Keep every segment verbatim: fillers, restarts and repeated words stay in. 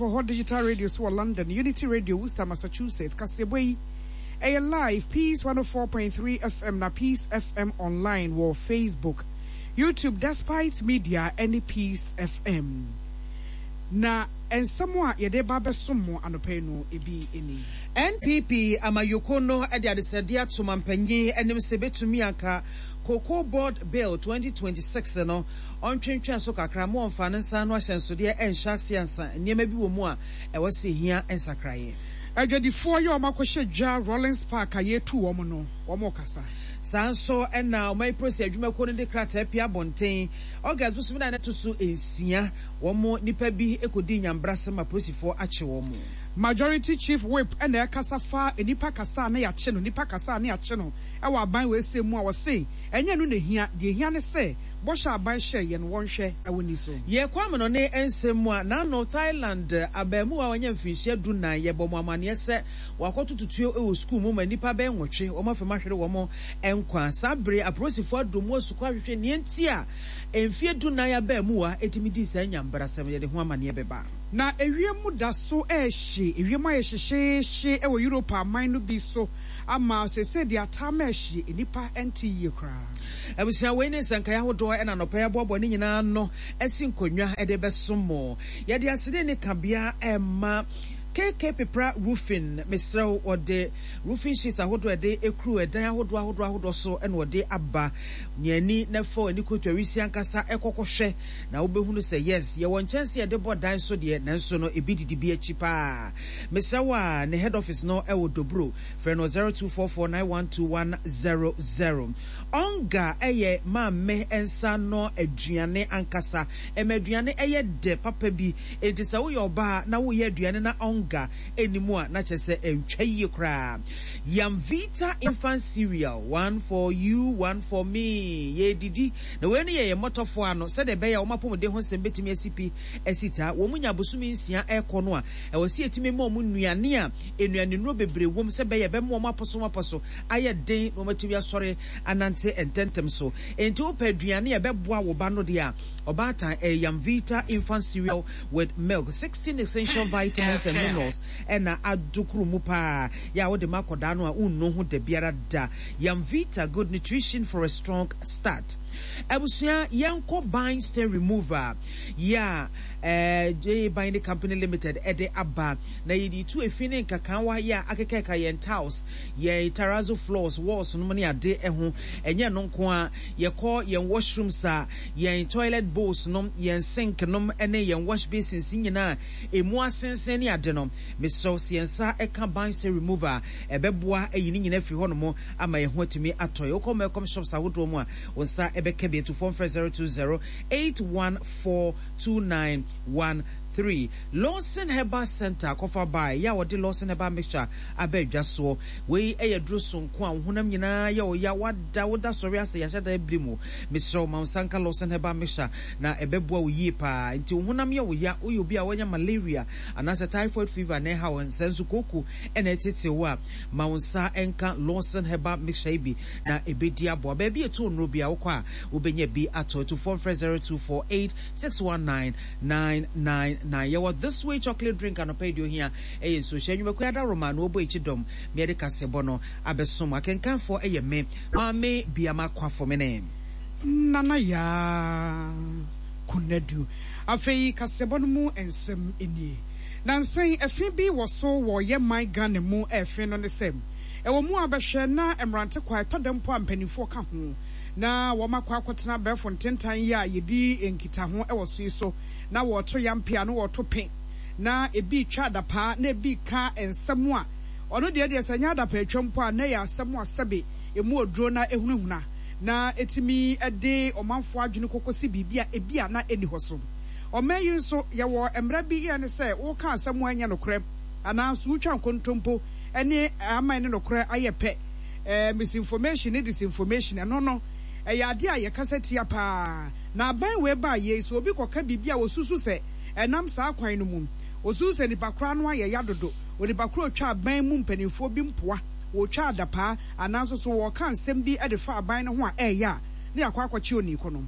wɔ hɔ Digital Radio so wɔ London, Unity Radio, Worcester, Massachusetts. Kaseɛbɔ yi ɛyɛ live Peace one oh four point three F M na Peace F M online wɔ Facebook, YouTube, Despite Media ɛne Peace F M. Na nsɛm a yɛde ba bɛsom mo anɔpa yi no ebi ni. N P P amayoko no de adesɛdeɛ ato mampanyin anim sɛ bɛtumi anka Cocoa Board Bill twenty twenty-six no ɔntwentwɛn so kakra ma ɔmfa ne nsa no ahyɛnsodeɛ ɛnhyɛ ase ansa nneɛma bi wɔ mu a ɛwɔ sɛ hia nsakraeɛ. Adwadifoɔ yɛ wɔn akɔhyɛ dwa Rollins Park a yɛtu wɔn no, wɔn kasa. Saa nso ɛna ɔman polisi adwumakuo no de krataa pia abɔnten August bosom na ɛto so nsia, wɔn nipa bi kɔdi nyambrasɛm a polisifoɔ akye wɔn. Majority Chief Whip ɛna ɛkasa fa nipa kasa a na yɛakye no, nipa kasa a na yɛakye no ɛwɔ aban wɔ ese mu a wɔse ɛnyɛ no na ehia. Deɛ ehia ne sɛ bɔhyɛ aban hyɛ yɛn, wɔnhwɛ ɛwɔ ni so. Yɛkɔ amano ne nsɛm mu a, n'ano Thailand abaamuwa a wanya mfirinhyia du nan, yɛbɔ mo amanneɛ sɛ wakɔto tutuo wɔ sukuu mu ma nnipa bɛyɛ nwɔtwe wɔn afɛm ahwere wɔn nkwa. Saa bere apolisifoɔ adɔ mu asukɔ ahwehwɛ nea nti a mfie du nan abaamuwa ɛtumi dii saa nyambrasɛm. Yɛde ho amanneɛ bɛba. Na ewiem da so ɛɛhye, ewiem ayɛ hyehyɛɛhye ɛwɔ Europe aman no bi so ama sese deɛ ataama ɛhye nnipa ɛnte yie koraa. Abusua, wei ne nsɛnkae ahodoɔ ɛna nɔpɛ yɛaboaboa ne nyinaa no asi nkonnwa ɛde bɛsom mo. Yɛde asede ne kabea ɛma K K Pepra Roofing. Mesrɛ wo, wɔde roofing sheets ahodoɔ ɛde ekuru ɛdan ahodoɔ ahodoɔ ahodoɔ so ɛna wɔde aba. Nea na fa ani koto awisi ankasa ɛkɔkɔhwɛ na wobɛhunu sɛ yes, yɛwɔ nkyɛnse yɛde bɔ dan so deɛ, nanso no ebi didi bi akyi paa. Mesrɛ wo a, ne head office no ɛwɔ Dobro. Frɛ no zero two four four nine one two one zero zero. Ɔnga ɛyɛ maame nsa no aduane ankasa, ɛma aduane ɛyɛ dɛ papa bi. Enti sɛ woyɛ ɔbaa na woyɛ aduane na ɔnga ɛni a, na kyerɛ sɛ ɛntwa yie koraa. Yamvita Infant Cereal, one for you, one for me. Yɛdidi na wei no yɛ yɛ mmɔtɔfoɔ ano sɛdeɛ ɛbɛyɛ a wɔn apɔmuden ho nsɛm bɛtumi asi pi asi taa. Wɔn mu nya abosome nsia ɛrekɔ no a, ɛwɔ sɛ yɛtumi ma wɔn nnuane a nnuane nnuro bebree wom sɛ bɛyɛ bɛma wɔn apɔso apɔso ayɛ den na wɔn atumi asɔre anante ntɛntɛm so. Nti wopɛ aduane a ɛbɛboa wo ba no deɛ a, ɔbaatan, ɛyɛ Yamvita Infant Cereal with milk, sixteen essential vitamins and minerals ɛna adokoro mu paa yɛ a wode ma akɔdaa no a wonnu ho da biara da. Yamvita, good nutrition for a strong start. Abusua, yɛnkɔ ban stain remover yɛ a ɛɛ J Binding Company Limited ɛde aba na yɛde tu efi ne nkakawa yɛ a akekeka yɛn tiles, yɛn terrazzo floors, walls no mu ne ade ɛho. Ɛnyɛ no nko a, yɛkɔ yɛn washrooms a, yɛn toilet bowls nom, yɛn sink nom ɛne yɛn wash basins nyinaa emu asensen ne ade no. Mesrɛw, sɛ yɛn nsa ɛka ban stain remover, ɛbɛboa ayi ne nyinaa firi hɔnom ama yɛn ho atumi atɔ yɛ. Wokɔ Melcom shops ahodoɔ mu a, wo nsa ɛbɛka bi. Atufoɔ mfrɛ zero two zero eight one four two nine one three. Lawson Herbal Center akɔfa baa yɛ a wɔde Lawson Herbal Mixture aba adwa soɔ. Wei ɛyɛ duro sonko a wo honam nyinaa yɛ ɔya, wada woda sɔre asɛ yɛahyɛ da abiri mu. Mesrɛ wo, ma wo nsa nka Lawson Herbal Mixture na ɛbɛboa wo yie paa. Nti wo honam yɛ wo ya, woyɛ obi a wɔanya malaria anaasɛ typhoid fever na ɛha wo nsɛ nso kooko ɛna ɛtete wo a, ma wo nsa nka Lawson Herbal Mixture yi bi na ɛbɛdi aboa. Baabi ɛto nnuro bi a wokɔ a, wobɛnya bi atɔ. Atufoɔ mfrɛ zero two four eight six one nine nine nine nine. Yɛwɔ This Way Chocolate Drink. Anɔpa yi deɛ ohia ɛyɛ nsuohyɛ. Nnwumakuo adaroma na wɔbɔ akyi dɔm meɛde kasɛbɔ no abɛsom. Akenkanfoɔ ɛyɛ me Maame Biama Kwafo mene Nana Yaa Konadu. Afei kasɛbɔ no mu nsɛm nie. Nansan ɛfe bi wɔ so wɔ yɛ man Ghana mu. Ɛfe no ne sɛ ɛwɔ mu a bɛhwɛ na mmerante kwa ɛtɔ dɛm mpo a mpanimfoɔ ka ho na wɔn akɔ akɔtena abɛɛfo ntentan yi a yɛdi nkitaho wɔ so yi so na wɔreto yampe a na wɔreto pe na ebi twa adapaa na ebi ka nsɛm a ɔno deɛ deɛ sɛ nyɛ adapaa atwa mpo a, na yɛ asɛm a sɛbe emu oduro na ehunahuna na etumi de ɔmanfoɔ adwene kɔkɔsi biribi a ebi a na ɛni hɔ so. Ɔman yi nso yɛwɔ mmara bi yɛ ne sɛ wɔka asɛm a ɛnyɛ nokorɛ anaa nso wotwa nkontompo ne aman ne nokorɛ ayɛ pɛ, ɛɛ misinformation ne disinformation, ɛno no ɛyɛ adeɛ a yɛkasa tia paa. Na aban wei baa yie so, obi kɔka biribi a wɔsusu sɛ ɛnam saa kwan no mu, wɔsusu sɛ nipa koraa no ayɛ ya dodo, onipa koro otwa aban mu mpanimfoɔ bi mpoa, wɔtwa adapaa anaa nso so wɔka nsɛm bi de fa aban no ho a ɛɛyɛ a, ne yɛakɔ akɔkye oniiko no,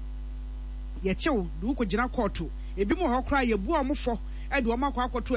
yɛkyew de wokɔgyina kɔɔto. Ebi mu wɔ hɔ koraa, yɛbua wɔn fɔ de wɔn akɔ akɔto